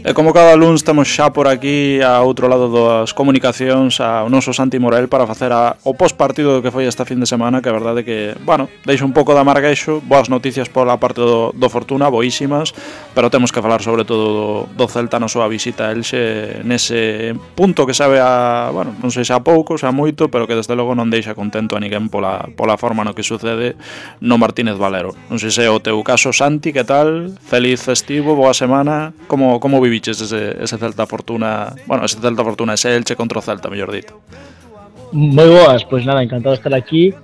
E como cada luns temos xa por aquí a outro lado das comunicacións ao noso Santi Morel para facer o postpartido que foi esta fin de semana, que a verdade que, bueno, deixa un pouco de amarguexo, boas noticias pola parte do Fortuna, boísimas, pero temos que falar sobre todo do Celta na súa visita a Elxe nese punto que sabe a, bueno, non sei se a pouco, se a moito, pero que desde logo non deixa contento a ninguén pola forma no que sucede no Martínez Valero. Non sei se é o teu caso, Santi, que tal? Feliz festivo, boa semana, como viviches ese Celta Fortuna, bueno, ese Celta Fortuna, ese Elche contra o Celta, mellor dito? Moi boas, pois nada, encantado de estar aquí.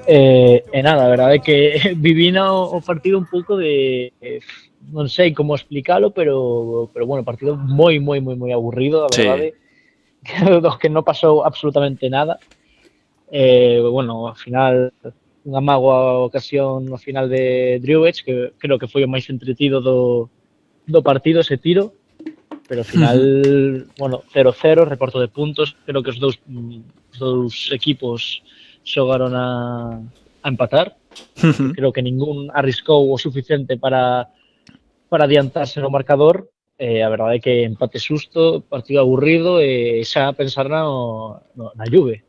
E nada, a verdade é que viví o partido un pouco de non sei como explicalo, pero bueno, partido moi aburrido, a verdade. Sí. Dos que non pasou absolutamente nada. Bueno, ao final unha mágoa ocasión no final de Driouech, que creo que foi o máis entretido do partido, ese tiro. Pero ao final, bueno, 0-0, reparto de puntos, creo que os dous equipos xogaron a empatar. Creo que ningún arriscou o suficiente para adiantarse no marcador. A verdade é que empate susto, partido aburrido e xa pensar na Juve.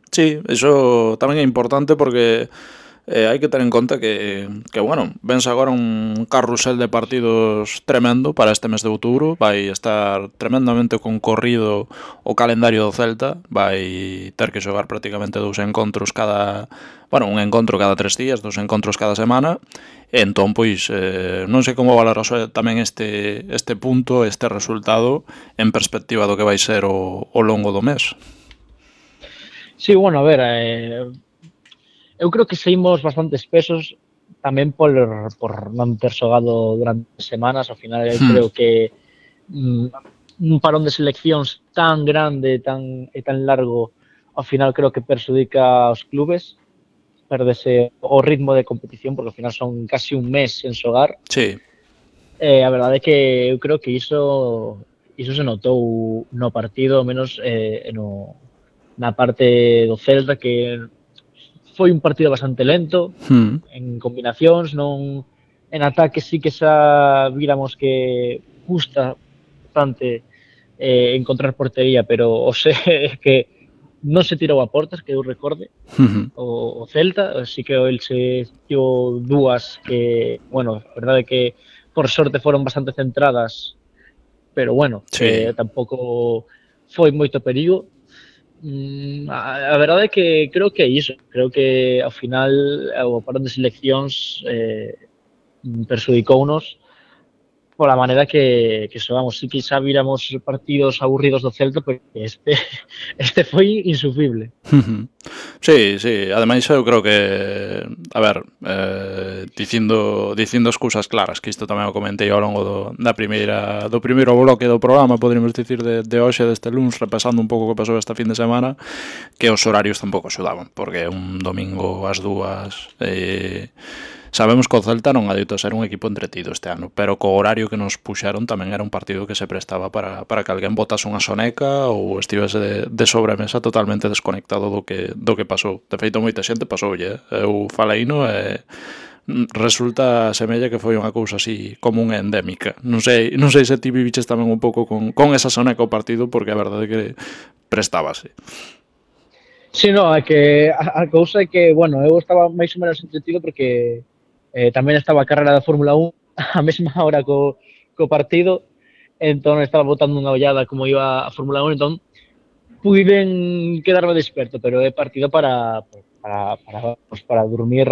Sí, iso tamén é importante porque hai que ter en conta que bueno, vense agora un carrusel de partidos tremendo para este mes de outubro. Vai estar tremendamente concorrido o calendario do Celta. Vai ter que xogar prácticamente dous encontros un encontro cada 3 días, dos encontros cada semana. Entón, pois, non sei como valoras tamén este punto, este resultado en perspectiva do que vai ser o longo do mes. Sí, bueno, a ver, eu creo que saímos bastante espesos tamén por non ter xogado durante semanas. Ao final eu creo que un parón de seleccións tan grande e tan largo ao final creo que perxudica aos clubes, perdese o ritmo de competición porque ao final son casi un mes sen xogar. Sí. A verdade é que eu creo que iso se notou no partido, ao menos na parte do Celta, que foi un partido bastante lento en combinacións, non en ataque sí que xa víramos que custa bastante encontrar portería, pero o sea que non se tirou a portas, que eu recorde o Celta, así que el se tirou dúas que, bueno, a verdade é que por sorte foron bastante centradas, pero bueno, sí. Tampouco foi moito perigo. A verdade é que creo que é iso. Creo que ao final o parón de seleccións perxudicounos pola maneira que xogamos. Si que xa víramos partidos aburridos do Celta, porque este foi insufrible. Sí, ademais eu creo que, a ver, dicindo as cousas claras, que isto tamén o comentei ao longo do primeiro bloque do programa, poderíamos dicir, de hoxe, deste luns, repasando un pouco o que pasou esta fin de semana, que os horarios tampouco axudaban, porque un domingo ás 2:00, sabemos que o Celta non adoita ser un equipo entretido este ano, pero co horario que nos puxeron tamén era un partido que se prestaba para que alguén botase unha soneca ou estivese de sobremesa totalmente desconectado do que pasou. De feito, moita xente pasoulle. Eu faleino e resulta semella que foi unha cousa así común e endémica. Non sei se ti viviches tamén un pouco con esa soneca o partido, porque a verdade é que prestábase. Sí, no, é que a cousa é que, bueno, eu estaba máis ou menos entretido porque tamén estaba a carrera da Fórmula 1 a mesma hora co partido, entón estaba botando unha ollada como iba a Fórmula 1, entón puiden quedarme desperto, pero é partido para dormir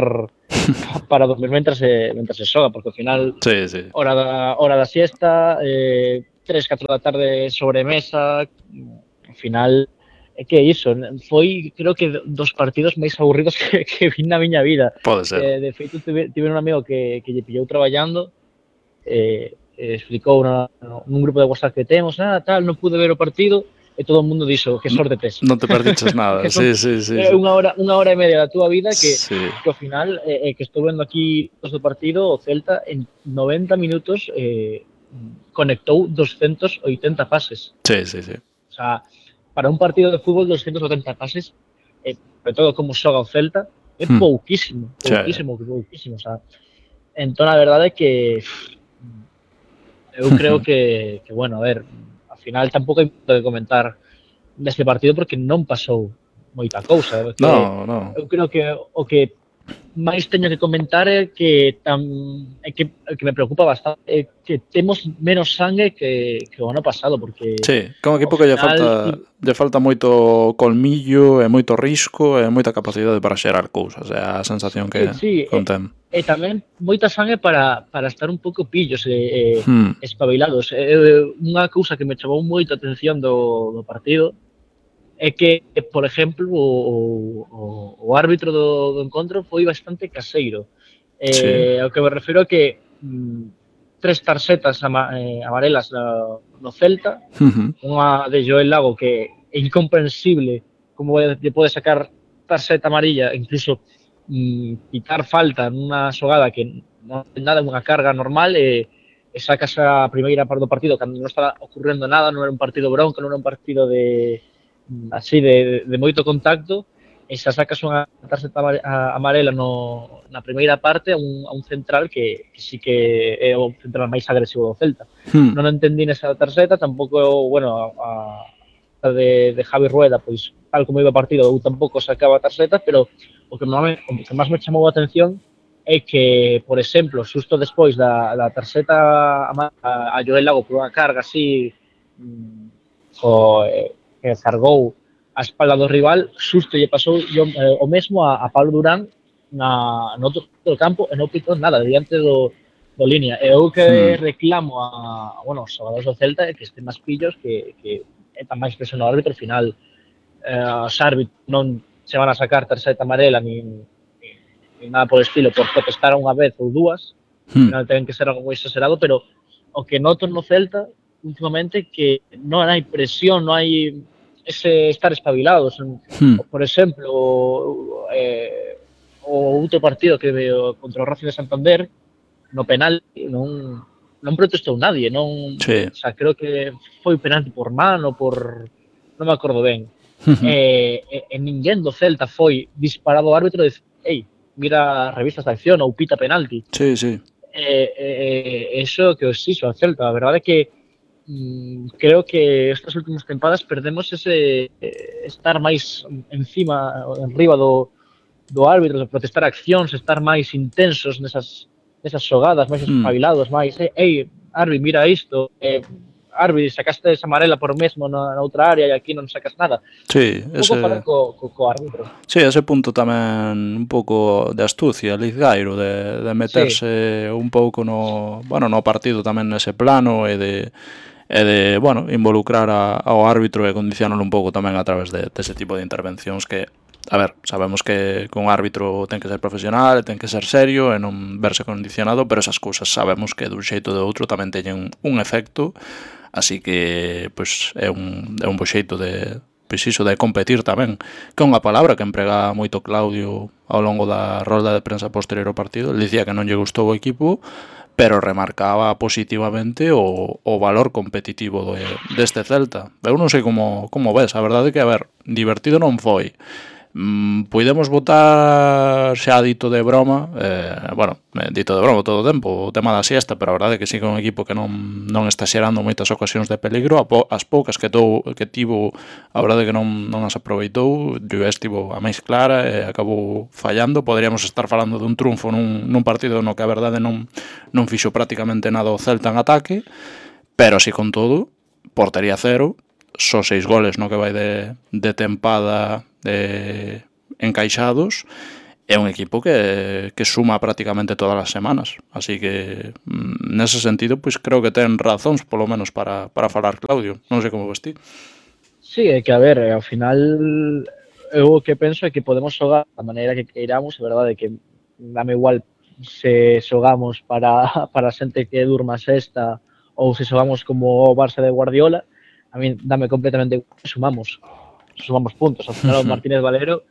para dormir mentras se xoga, porque ao final sí. hora da siesta, 3-4 da tarde sobremesa, ao final é que iso, foi creo que dos partidos máis aburridos que vi na miña vida. Pode ser. De feito, tive un amigo que lle pillou traballando, explicou nun grupo de WhatsApp que temos, tal, non pude ver o partido, e todo o mundo dixo que sorte tes. Non te perdiches nada, sí. Unha hora e media da túa vida que ao final, que estou vendo aquí do partido, o Celta en 90 minutos conectou 280 pases. Sí. O sea, para un partido de fútbol 280 pases, sobre todo como xoga o Celta, é pouquísimo. O sea, entón a verdade é que Eu creo que bueno, a ver, ao final tampouco hai moito que comentar deste partido porque non pasou moita cousa, é que No, no. eu creo que o que máis teño que comentar é que me preocupa bastante é que temos menos sangue que o ano pasado, porque Sí, que é un ao equipo que final lle falta moito colmillo e moito risco e moita capacidade para xerar cousas. É a sensación sí, sí, que ten. e tamén moita sangue para estar un pouco pillos e Hmm, espabilados. Unha cousa que me chamou moito a atención do partido é que, por exemplo, o árbitro do encontro foi bastante caseiro. sí. Ao que me refiro é que tres tarxetas amarelas no Celta, Mhm. unha de Joel Lago que é incomprensible como lle pode sacar tarxeta amarilla, incluso quitar falta nunha xogada que non ten nada, unha carga normal e sacas a primeira parte do partido cando non estaba ocurrendo nada, non era un partido bronco, non era un partido de así de moito contacto e xa sacas unha tarxeta amarela na primeira parte a un central que sí que é o central máis agresivo do Celta. Hmm. Non entendín esa tarxeta, tampouco, bueno, a de Javi Rueda, pois tal como iba o partido, eu tampouco sacaba tarxetas, pero o que máis me chamou a atención é que, por exemplo, xusto despois da tarxeta a Joel Lago por unha carga así o, que cargou a espalda do rival, xusto lle pasou o mesmo a Pablo Durán no outro campo e non pitou nada diante do línea. E eu que Hmm. reclamo bueno, os xogadores do Celta que estén máis pillos que é tan máis presión ao árbitro, ao final os árbitros non se van a sacar tarxeta amarela ni nada por estilo por protestar unha vez ou dúas, ao Hmm. final ten que ser algo moi exagerado, pero o que noto no Celta últimamente que non hai presión, non hai ese estar espabilados. Hmm. Por exemplo, o outro partido que veo contra o Racing de Santander, no penal non protestou nadie, Sí. o sea, creo que foi penalti por mano, non me acordo ben. Mhm. E ninguén do Celta foi disparado ao árbitro e dicir, ei, mira, revisa esta acción ou pita penalti. Sí, sí. Eso que os xixo ao Celta, a verdade é que creo que estas últimas tempadas perdemos ese estar máis encima, enriba do árbitro, de protestar accións, estar máis intensos nesas xogadas, máis Hmm. espabilados, máis, ei, Arbi, mira isto, Arbi, sacaste esa amarela por mesmo na outra área e aquí non sacas nada. Sí, Un pouco falar co árbitro. sí, ese punto tamén un pouco de astucia, Lizgairo, de meterse un pouco no partido tamén nese plano e de involucrar ao árbitro e condicionalo un pouco tamén a través dese tipo de intervencións que, a ver, sabemos que un árbitro ten que ser profesional, ten que ser serio e non verse condicionado, pero esas cousas sabemos que dun xeito ou de outro tamén teñen un efecto, así que pois é un bo xeito de competir tamén, que é unha palabra que emprega moito Claudio ao longo da rolda de prensa posterior ao partido. Ele dicía que non lle gustou o equipo, pero remarcaba positivamente o valor competitivo deste Celta. Eu non sei como ves, a verdade é que, a ver, divertido non foi. Podemos votar xa dito de broma, dito de broma todo o tempo, o tema da siesta, pero a verdade é que sí que é un equipo que non está xerando moitas ocasións de peligro, as poucas que tivo, a verdade é que non as aproveitou, Lluvé estivo a máis clara e acabou fallando. Poderíamos estar falando dun triunfo nun partido no que a verdade non fixo prácticamente nada o Celta en ataque, pero así con todo, portería cero, só 6 goles no que vai de tempada encaixados. É un equipo que suma prácticamente todas as semanas, así que nese sentido pois creo que ten razóns polo menos para falar Claudio. Non sei como ves ti. Sí, é que a ver, ao final eu o que penso é que podemos xogar da maneira que queiramos, a verdade é que dame igual se xogamos para a xente que durma a sexta ou se xogamos como o Barça de Guardiola, a mí dame completamente igual, sumamos puntos. Ao final o Martínez Valero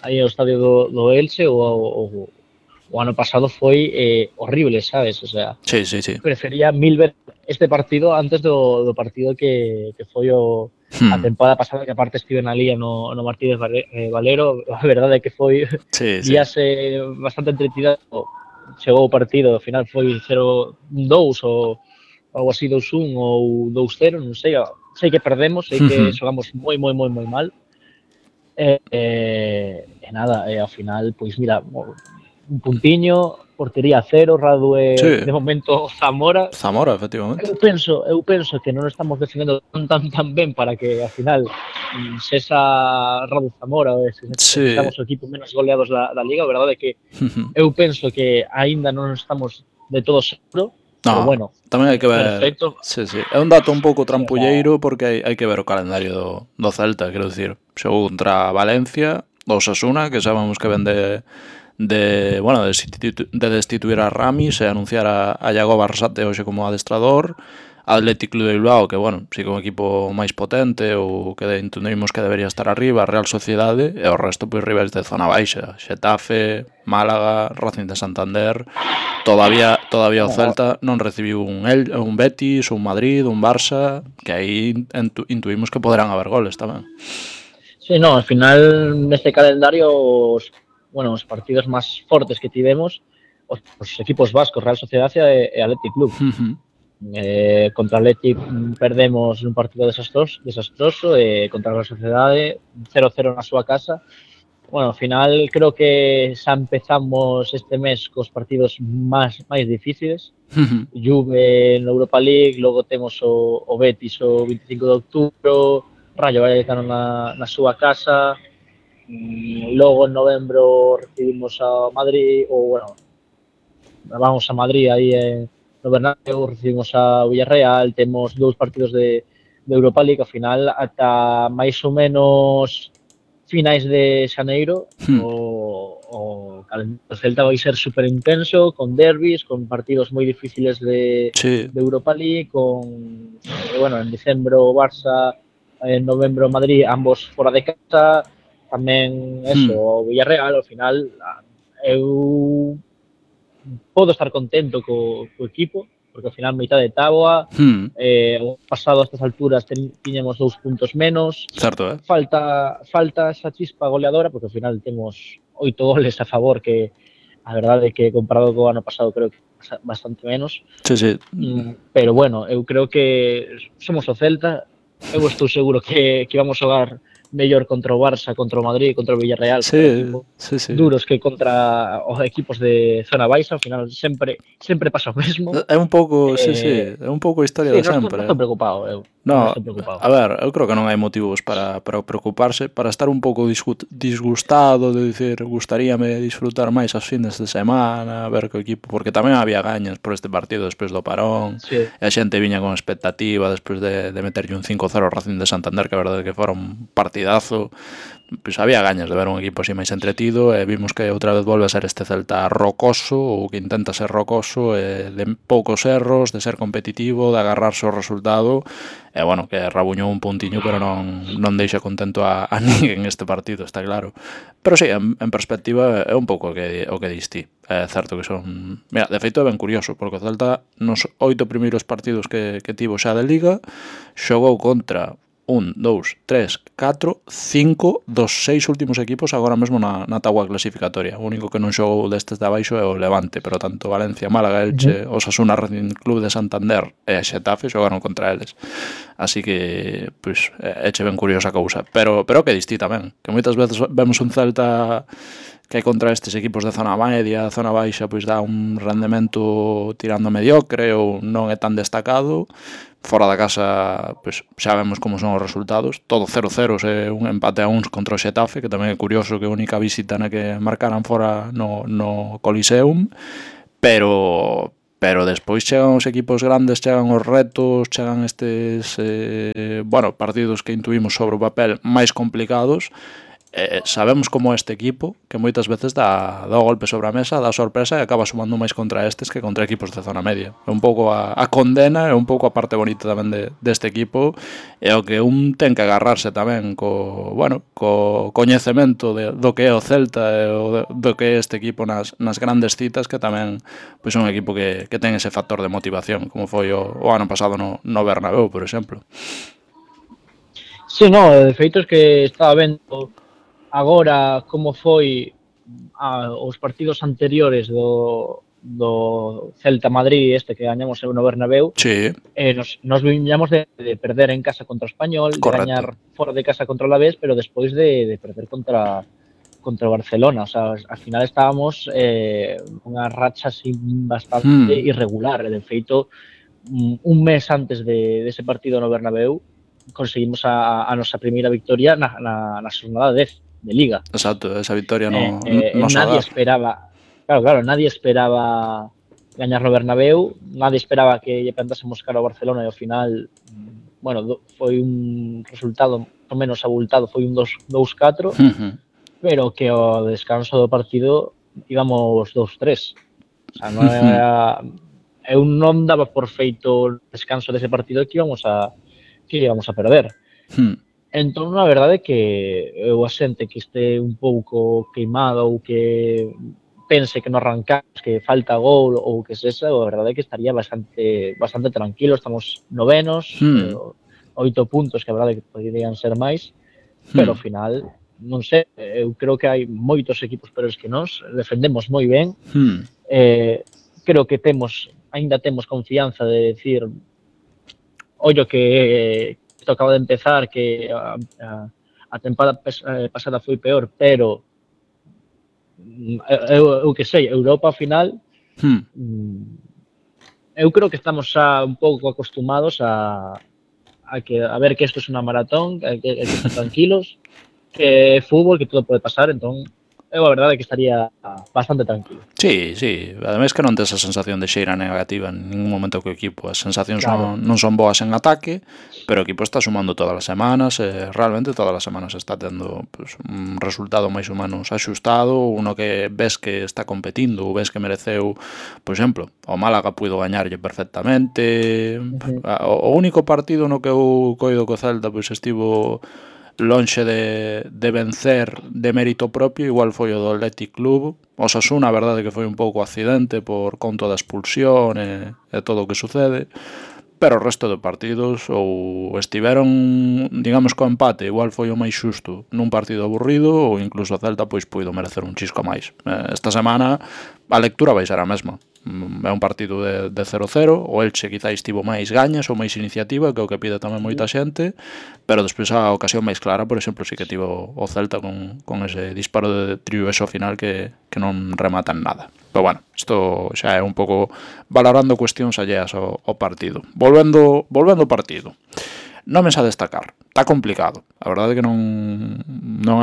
aí no estadio do Elche o ano pasado foi horrible, sabes? O sea, Sí. prefería mil veces este partido antes do partido que foi a tempada pasada, que aparte estive na lía no Martínez Valero. A verdade é que foi Sí. bastante entretida. Chegou o partido, ao final foi 0-2 ou algo así 2-1 ou 2-0, non sei, sei que perdemos, sei que xogamos moi mal, e nada, ao final, pois mira, un puntiño, portería cero, Radue Sí, de momento Zamora. Zamora, efectivamente. Eu penso que non estamos defendendo tan ben para que ao final se esa Radu Zamora Sí. sexamos o equipo menos goleados da Liga, a verdade é que eu penso que aínda non estamos de todo seguro, pero No, bueno, tamén hai que ver. perfecto. Sí, sí. É un dato un pouco Sí, o sea, trampulleiro porque hai que ver o calendario do Celta, quero dicir. Xogou contra Valencia, do Osasuna, que sabemos que vende bueno, de destituir a Ramis e anunciar a Iago Barsate hoxe como adestrador. Athletic Club de Bilbao, que, bueno, sí que un equipo máis potente ou que entendemos que debería estar arriba, Real Sociedade, e o resto, pois, rivais de zona baixa, Xetafe, Málaga, Racing de Santander. Todavía o Celta non recibiu un Betis, un Madrid, un Barça, que aí intuimos que poderán haber goles tamén. sí, no, al final neste calendario os partidos máis fortes que tivemos os equipos vascos, Real Sociedade e Athletic Club. Contra Athletic perdemos un partido desastroso e contra a Real Sociedade 0-0 na súa casa. Bueno, ao final creo que xa empezamos este mes cos partidos máis difíciles. Juve na Europa League, logo temos o Betis o 25 de outubro, Rayo Vallecano na súa casa, logo en novembro recibimos a Madrid, ou bueno, vamos a Madrid aí no Bernabéu, recibimos a Villarreal, temos dous partidos de Europa League, ao final ata máis ou menos finais de xaneiro o calendario Celta vai ser super intenso, con derbis, con partidos moi difíciles de Europa League, con bueno, en decembro Barça, en novembro Madrid, ambos fora de casa, tamén eso, o Villarreal, ao final eu podo estar contento co equipo, porque ao final mitad de táboa, o pasado a estas alturas tiñamos 2 puntos menos. Certo, Falta esa chispa goleadora, porque ao final temos 8 goles a favor, que a verdade é que comparado co ano pasado creo que bastante menos. Sí. Pero bueno, eu creo que somos o Celta, eu estou seguro que vamos xogar mellor contra o Barça, contra o Madrid, contra o Villarreal, sí. duros que contra os equipos de zona baixa, ao final sempre pasa o mesmo. É un pouco, é un pouco a historia de sempre. Non estou preocupado, No, a ver, eu creo que non hai motivos para preocuparse, para estar un pouco disgustado, de dicir, gustaríame disfrutar máis as fines de semana, ver que o equipo, porque tamén había gañas por este partido despois do parón, e a xente viña con expectativa despois de meterlle un 5-0 ao Racing de Santander, que a verdade que fora un partidazo. Pois había gañas de ver un equipo así máis entretido, e vimos que outra vez volve a ser este Celta rocoso, ou que intenta ser rocoso, de poucos erros, de ser competitivo, de agarrarse o resultado, e bueno, que rabuñou un puntiño, pero non deixa contento a ninguén este partido, está claro. Pero sí, en perspectiva é un pouco o que diste. É certo que son... Mira, de feito é ben curioso, porque o Celta nos 8 primeiros partidos que tivo xa de Liga xogou contra 1, 2, 3, 4, 5 dos 6 últimos equipos agora mesmo na táboa clasificatoria. O único que non xogou destes de abaixo é o Levante, pero tanto Valencia, Málaga, Elche, Osasuna, Racing Club de Santander e a Xetafe xogaron contra eles. Así que, pois, éche ben curiosa a cousa. Pero que distí tamén, que moitas veces vemos un Celta que contra estes equipos de zona media, zona baixa, pois dá un rendemento tirando mediocre ou non é tan destacado. Fora da casa, pois xa vemos como son os resultados, todo 0-0 e un empate a uns contra o Xetafe, que tamén é curioso que a única visita na que marcaran fora no Coliseum, pero despois chegan os equipos grandes, chegan os retos, chegan estes partidos que intuimos sobre o papel máis complicados. Sabemos como este equipo, que moitas veces dá golpe sobre a mesa, dá sorpresa e acaba sumando máis contra estes que contra equipos de zona media. É un pouco a condena, é un pouco a parte bonita tamén deste equipo, e o que un ten que agarrarse tamén co coñecemento do que é o Celta e do que é este equipo nas grandes citas, que tamén pois é un equipo que ten ese factor de motivación, como foi o ano pasado no Bernabéu, por exemplo. Sí, no, de feito é que estaba vendo agora como foi os partidos anteriores Celta Madrid que gañamos no Bernabéu, Sí, nos viñamos de perder en casa contra o Español, de correcto. gañar fora de casa contra o Alavés, pero despois de perder contra o Barcelona. O sea, al final estábamos unha racha así bastante irregular. De feito, un mes antes dese partido no Bernabéu, conseguimos a nosa primeira victoria na xornada 10 de Liga. Exacto, esa victoria no Nadie Sadar. esperaba, claro, nadie esperaba gañar no Bernabéu, nadie esperaba que lle plantásemos cara ao Barcelona e ao final, bueno, foi un resultado o menos abultado, foi un 2-4, pero que ao descanso do partido íbamos 2-3. O sea, non era, eu non daba por feito o descanso dese partido que íbamos a perder. Entón, a verdade é que eu a xente que este un pouco queimada ou que pense que non arrancamos, que falta gol ou que sexa, a verdade é que estaría bastante tranquilo. Estamos novenos, 8 puntos, que a verdade é que poderían ser máis, pero ao final, non sei, eu creo que hai moitos equipos peores que nós, defendemos moi ben, creo que aínda temos confianza de decir, ollo que isto acaba de empezar, que a tempada pasada foi peor, pero eu que sei, Europa ao final, eu creo que estamos xa un pouco acostumados a ver que isto é unha maratón, que estar tranquilos, que é fútbol, que todo pode pasar, entón eu a verdade é que estaría bastante tranquilo. Sí, ademais que non tes a sensación de xeira negativa en ningún momento co equipo. As sensacións non son boas en ataque, pero o equipo está sumando todas as semanas, realmente todas as semanas está tendo pues, un resultado máis ou menos axustado, uno que ves que está competindo, ou ves que mereceu, por exemplo, o Málaga puido gañarlle perfectamente. O único partido no que eu coido co Celta pois estivo lonxe de vencer de mérito propio, igual foi o do Athletic Club. O Osasuna, a verdade que foi un pouco accidente por conto da expulsión e todo o que sucede, pero o resto de partidos ou estiveron, digamos, co empate, igual foi o máis xusto nun partido aburrido, ou incluso o Celta pois puido merecer un chisco máis. Esta semana a lectura vai ser a mesma. É un partido de 0-0, o Elche quizás estivo máis gañas ou máis iniciativa, que é o que pide tamén moita xente, pero despois a ocasión máis clara, por exemplo, si que tivo o Celta con ese disparo de triueso final que non rematan nada. Pero bueno, isto xa é un pouco valorando cuestións alleas ao partido. Volvendo ao partido. Nomes a destacar. Está complicado. A verdade é que non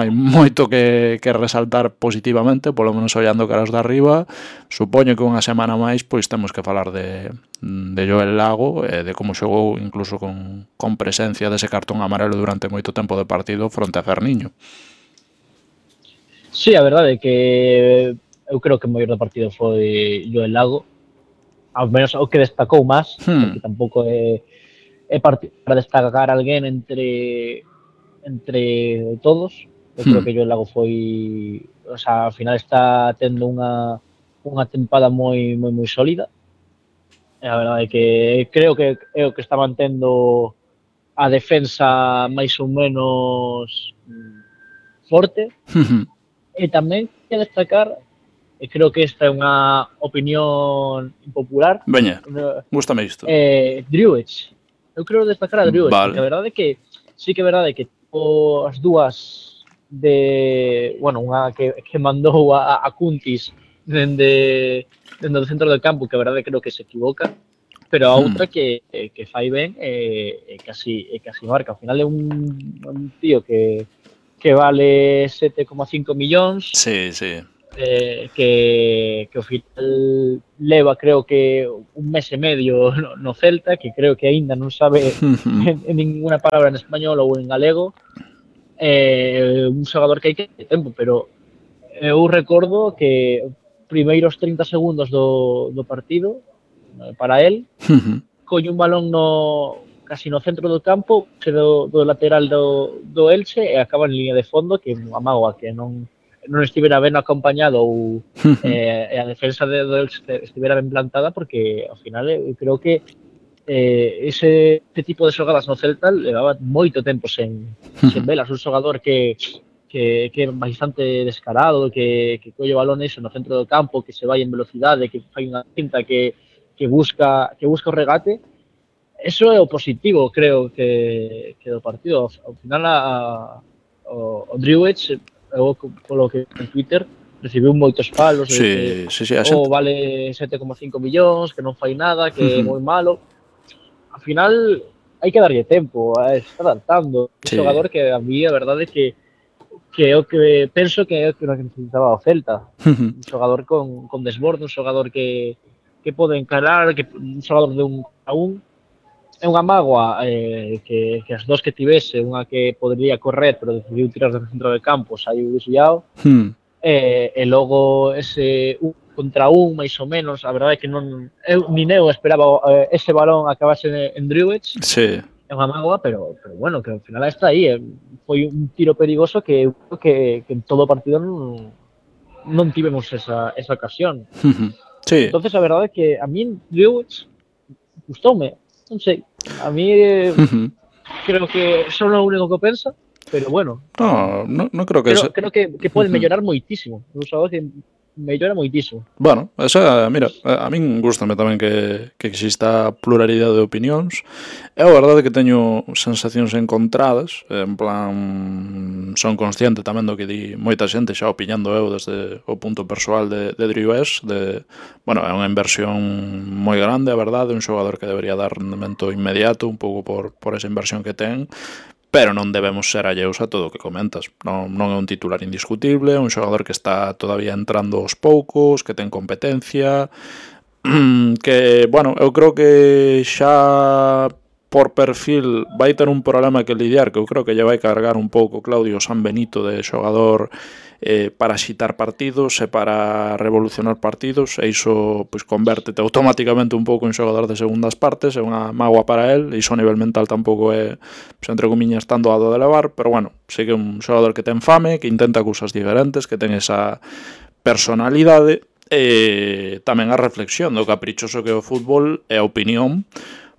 hai moito que resaltar positivamente, polo menos ollando caras de arriba. Supoño que unha semana máis pois temos que falar de Joel Lago, de como xogou incluso con presencia dese cartón amarelo durante moito tempo de partido fronte a Ferniño. Sí, a verdade é que eu creo que o mellor do partido foi Joel Lago, ao menos o que destacou máis, porque tampouco é para destacar a alguén entre todos. Eu creo que Joel Lago foi, o sea, ao final está tendo unha tempada moi sólida. E a verdade é que creo que é o que está mantendo a defensa máis ou menos forte. E tamén que destacar, e creo que esta é unha opinión impopular. Veña, gústame isto. Driouech. Eu quero destacar a Driouech, vale. porque a verdade é que sí que é verdade que as dúas de, bueno, unha que mandou a Cuntis dende o centro do campo, que a verdade creo que se equivoca, pero a outra que fai ben e casi marca. Ao final é un tío que vale 7,5 millóns. Sí. Que ao final leva, creo que un mes e medio no Celta, que creo que aínda non sabe en ninguna palabra en español ou en galego. Un xogador que hai que tempo, pero eu recordo que primeiros 30 segundos do partido para él, colle un balón casi no centro do campo, do lateral do Elche, e acaba en línea de fondo, que amago a que non estivera ben acompañado ou a defensa do Elche estivera ben plantada, porque ao final eu creo que ese tipo de xogadas no Celta levaba moito tempo sen velas. Un xogador que que é bastante descarado, que colle balones no centro do campo, que se vai en velocidade, que fai unha cinta, que busca o regate. Eso é o positivo, creo, que do partido. Ao final, o Driouech, eu, polo que en Twitter, recibiu moitos palos de que sí, a xente. vale 7,5 millóns, que non fai nada, que é moi malo. Ao final, hai que darlle tempo, está adaptando. Un xogador que a mí, a verdade, que é o que penso que é o que necesitaba o Celta. Un xogador con desborde, un xogador que pode encarar, un xogador de un a un. É unha mágoa que as dos que tivese, unha que podría correr, pero decidiu tirar do centro de campo, saiu desviado, e logo ese un contra un, máis ou menos, a verdade é que non, nin eu esperaba ese balón acabase en Driouech, sí. É unha mágoa, pero bueno, que ao final está aí, foi un tiro perigoso que en todo o partido non tivemos esa ocasión. Sí. Entonces a verdade é que a mí Driouech gustoume, non sei, a mí creo que son o único que pensa, pero bueno. No creo que creo que pode mellorar moitísimo, un xogador que mellora moitísimo. Bueno, esa, mira, a min gustame tamén que exista pluralidade de opinións. É a verdade que teño sensacións encontradas, en plan, son consciente tamén do que di moita xente, xa opinando eu desde o punto persoal de Driouech, bueno, é unha inversión moi grande, a verdade, un xogador que debería dar rendemento inmediato, un pouco por esa inversión que ten, pero non debemos ser alleus a todo o que comentas. Non é un titular indiscutible, un xogador que está todavía entrando aos poucos, que ten competencia, que, bueno, eu creo que xa por perfil vai ter un problema que lidiar, que eu creo que lle vai cargar un pouco Claudio Sanbenito de xogador para xitar partidos e para revolucionar partidos, e iso pois convértete automáticamente un pouco en xogador de segundas partes, é unha mágoa para el, e iso a nivel mental tampouco é, pois, entre comiñas, tan doado de levar, pero bueno, sí que é un xogador que ten fame, que intenta cousas diferentes, que ten esa personalidade, e tamén a reflexión do caprichoso que é o fútbol e a opinión,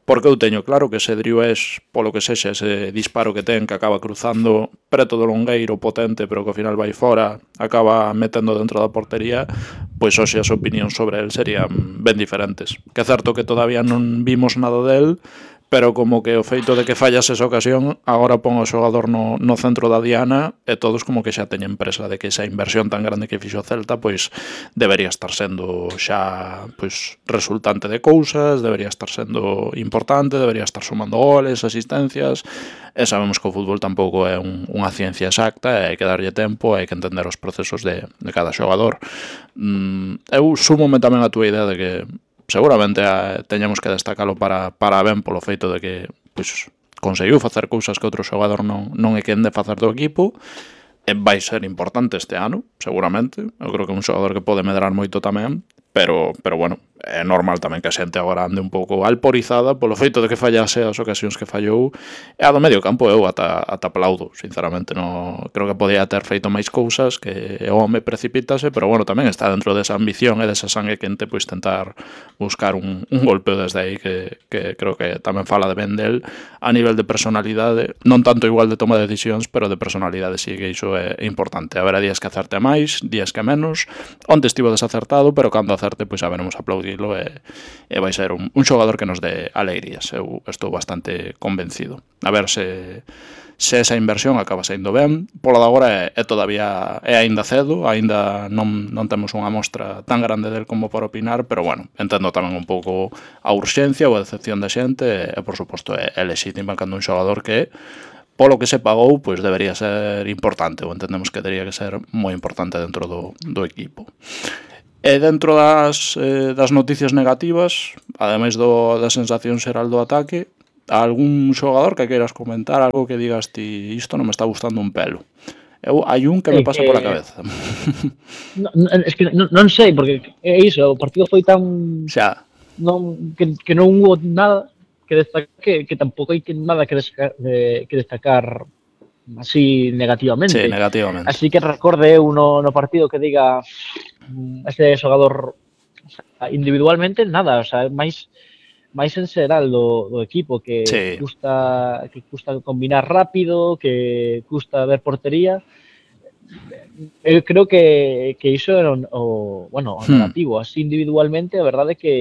porque eu teño claro que ese Driouech, polo que sexa, ese disparo que ten, que acaba cruzando preto do longueiro potente, pero que ao final vai fora, acaba metendo dentro da portería, pois hoxe as opinións sobre el serían ben diferentes. Que é certo que todavía non vimos nada del, pero como que o feito de que fallas esa ocasión agora pon o xogador no centro da diana, e todos como que xa teñen presa de que esa inversión tan grande que fixo o Celta pois debería estar sendo xa pois resultante de cousas, debería estar sendo importante, debería estar sumando goles, asistencias, e sabemos que o fútbol tampouco é unha ciencia exacta, e hai que darlle tempo, hai que entender os procesos de cada xogador. Eu súmome tamén a túa idea de que seguramente teñamos que destacalo para ben polo feito de que pois, conseguiu facer cousas que outro xogador non é quen de facer do equipo, e vai ser importante este ano, seguramente. Eu creo que é un xogador que pode medrar moito tamén, pero bueno, é normal tamén que a xente agora ande un pouco alporizada polo feito de que fallase as ocasións que fallou, e a do medio campo eu ata aplaudo, sinceramente. Creo que podía ter feito máis cousas, que o home precipítase, pero bueno, tamén está dentro desa ambición e desa sangue quente, pois tentar buscar un golpeo desde aí que creo que tamén fala de ben del a nivel de personalidade, non tanto igual de toma de decisións, pero de personalidade sí que iso é importante. Haberá días que acerte máis, días que menos, onte estivo desacertado, pero cando acerte, pois saberemos aplaudilo, e vai ser un xogador que nos dé alegrías. Eu estou bastante convencido. A ver se esa inversión acaba saindo ben. Polo de agora todavía é aínda cedo, aínda non temos unha mostra tan grande del como para opinar, pero bueno, entendo tamén un pouco a urxencia ou a decepción da xente, e por suposto é lexítima cando un xogador que polo que se pagou, pois debería ser importante, ou entendemos que debería que ser moi importante dentro do equipo. E dentro das noticias negativas, ademais da sensación xeral do ataque, algún xogador que queiras comentar, algo que digas ti, isto non me está gustando un pelo? Hai un que me pasa pola cabeza. Es que non sei, porque é iso, o partido foi tan... Xa. Que non hubo nada que destacar, que tampouco hai nada que destacar así negativamente. Sí, negativamente. Así que recorde eu no partido que diga este xogador, o sea, individualmente nada, o sea, máis en xeral do equipo, que custa combinar rápido, que custa ver portería. eu creo que iso era o Hmm. negativo, así individualmente, a verdade é que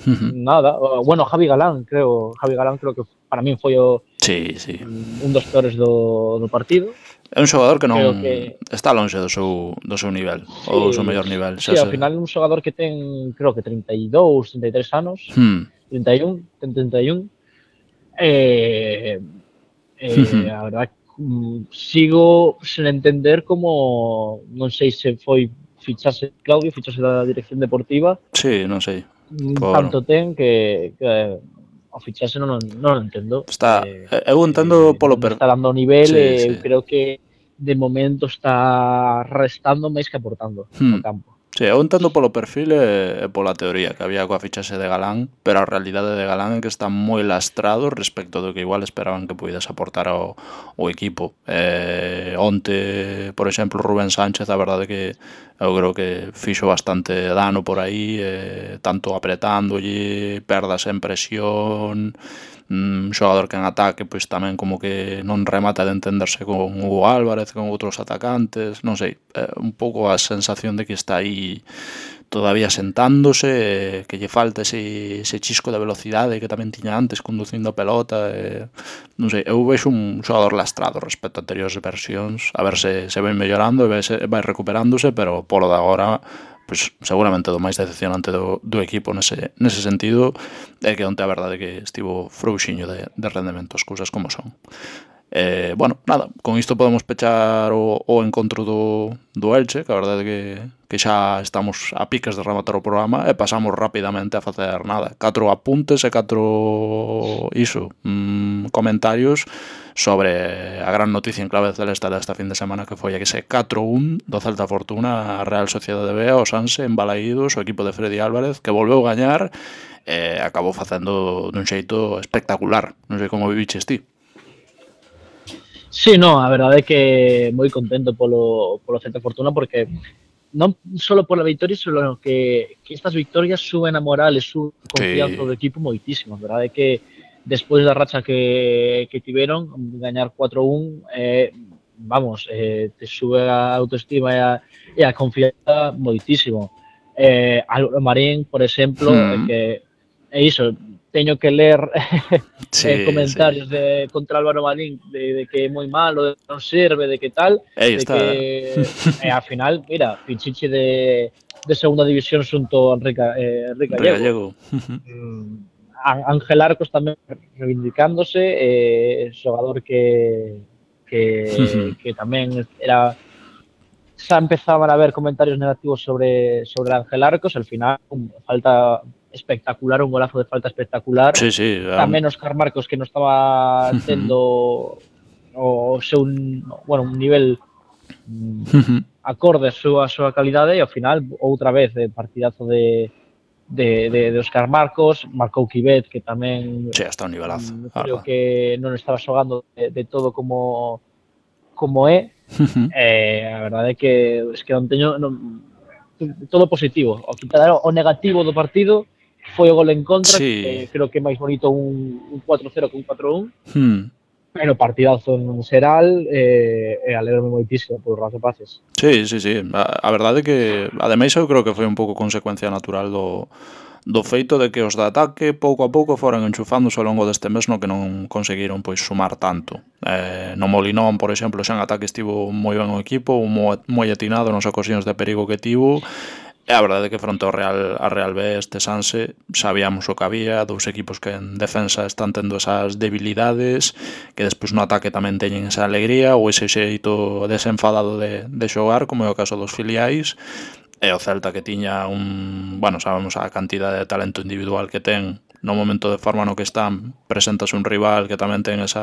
Ujú. nada, bueno, Javi Galán creo que para min foi Sí, sí. un dos peores do partido. É un xogador que non Creo que está lonxe do seu nivel, ou do seu sí, mellor nivel, xa sí, ao se. final un xogador que ten, creo que 32, 33 anos, Hmm. 31, ten 31, eh, Ujú. a verdad sigo sen entender como, non sei se foi fichase Claudio, fichase da dirección deportiva, Sí, non sei. Por tanto ten que ao fichase non o entendo. está eu entendo polo Non está dando o nivel sí, e eu sí. creo que de momento está restando máis que aportando no Hmm. campo. Sí, eu entendo polo perfil e pola teoría que había coa fichaxe de Galán, pero a realidade de Galán é que está moi lastrado respecto do que igual esperaban que puidese aportar ao equipo. Onte, por exemplo, Rubén Sánchez, a verdade que eu creo que fixo bastante dano por aí, tanto apretándolle, perdas en presión, xogador que en ataque pois tamén como que non remata de entenderse con Hugo Álvarez, con outros atacantes, non sei, un pouco a sensación de que está aí todavía sentándose, que lle falta ese chisco de velocidade que tamén tiña antes conducindo a pelota, non sei, eu vexo un xogador lastrado respecto a anteriores versións, a ver se vai mellorando e vai recuperándose, pero polo de agora pois seguramente do máis decepcionante do equipo nese sentido é que onte a verdade que estivo frouxiño de rendemento, as cousas como son. Bueno, nada, con isto podemos pechar o encontro do Elche, que a verdade que xa estamos a piques de rematar o programa e pasamos rapidamente a facer nada, 4 apuntes e 4 comentarios sobre a gran noticia en clave celeste desta fin de semana, que foi a que ese 4-1 do Celta Fortuna a Real Sociedade B, o Sanse en Balaídos, o equipo de Freddy Álvarez, que volveu gañar e acabou facendo dun xeito espectacular. Non sei como viviches ti. Sí, no, a verdade é que moi contento polo Celta Fortuna porque non só pola victoria, sino que estas victorias suben a moral e suben a confianza Sí. do equipo moitísimo. A verdade é que despois da racha que tiveron, gañar 4-1, vamos, te sube a autoestima e a confianza moitísimo. Álvaro Marín, por exemplo, Hmm. que é iso, teño que ler Sí, sí. comentarios contra Álvaro Marín de que é moi malo, de que non serve, de que tal, Aí de que está. ao final, mira, Pichichi de segunda división xunto a Enrique Gallego. Regallego. Ángel Arcos tamén reivindicándose, xogador que tamén era xa empezaban a haber comentarios negativos sobre Ángel Arcos, al final falta espectacular, un golazo de falta espectacular. Sí, sí. Tamén Óscar Marcos que non estaba tendo o seu, bueno, un nivel acorde a súa calidade e ao final outra vez partidazo de Óscar Marcos, marcou Kibet que tamén Sí, hasta un nivelazo, a creo verdad. que non estaba xogando de todo como é. A verdade é que non teño todo positivo. O quitar o negativo do partido foi o gol en contra, Sí. que creo que é máis bonito un 4-0 que un 4-1, Hmm. pero partidazo en xeral e alegrome moitísimo polos rapaces. Sí, sí, sí. A verdade é que, ademais, eu creo que foi un pouco consecuencia natural do feito de que os de ataque pouco a pouco foran enchufándose ao longo deste mes no que non conseguiron pois sumar tanto. No Molinón, por exemplo, xa en ataque estivo moi ben o equipo, moi atinado nas ocasións de perigo que tivo. E a verdade é que fronte a Real B este Sanse sabíamos o que había, dous equipos que en defensa están tendo esas debilidades, que despois no ataque tamén teñen esa alegría ou ese xeito desenfadado de xogar, como é o caso dos filiais, e o Celta que tiña bueno, sabemos a cantidade de talento individual que ten no momento de forma no que están, presentase un rival que tamén ten ese